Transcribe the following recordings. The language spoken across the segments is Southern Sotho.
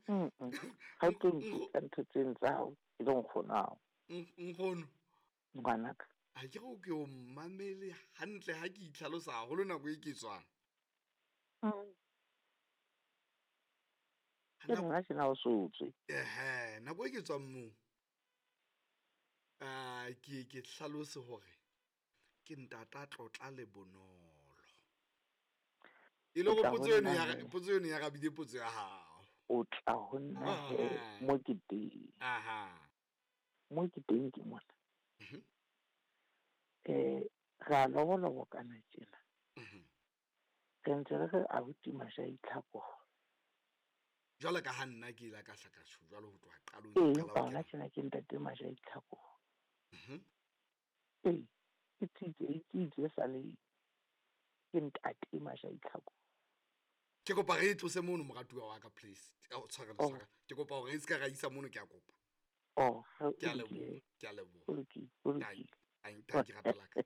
Ga o tlo mpitsa ntho tseno tsa gago e le nkgonao. Nkgono. Ngwanaka. A ke go ke o mmamele hantle ha ke itlhalosa haholo nako e ke tswang. Ke nna tjena o so tswe. Ehe, nako e ke tswang moo. A ke hlalose hore ke ntata tlotla le bonolo. E le hore potso eno ya potso eno ya rabile potso ya hao. O tla ho nna he mo ke teng. Aha. Mo ke teng ke mona. Ra lobolobokana tjena. Re ntse re re abuti Masha-Itlhako. Jwale ka ha nna ke ile ka hlaka tjho jwalo ho tloha qalong. Ee, empa hona tjena ke ntate Masha-Itlhako. Ee, ke tsitse sa le ke ntate Masha-Itlhako. Ke kopa re tlose mono moratuwa wa ka, please. O tshwarele, tshwarele. Ke kopa hore e ska ra isa mono, ke a kopa. Oh, ke a leboha, ke a leboha. O lokile, o lokile. Ai, ke rata la ka.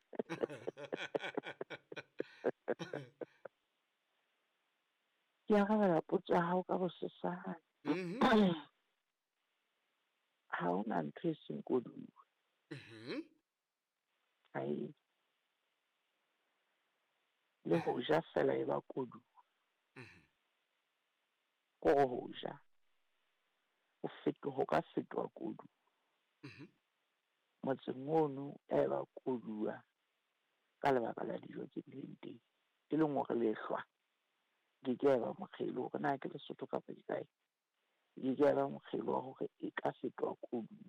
Ke arabela potso ya hao ka bosesane. Ha hona ntho e seng koduwa. Ai. Le ho ja fela e ba koduwa. Ko ho ja. O fetoha, ka fetoha koduwa. Motseng ono e ba koduwa ka lebaka la dijo tse bileng teng. E leng hore lehlwa ke ke ba mokgelo hore na ke Lesotho kapa ke kae. Ke ke ba mokgelo wa hore e ka fetoha koduwa.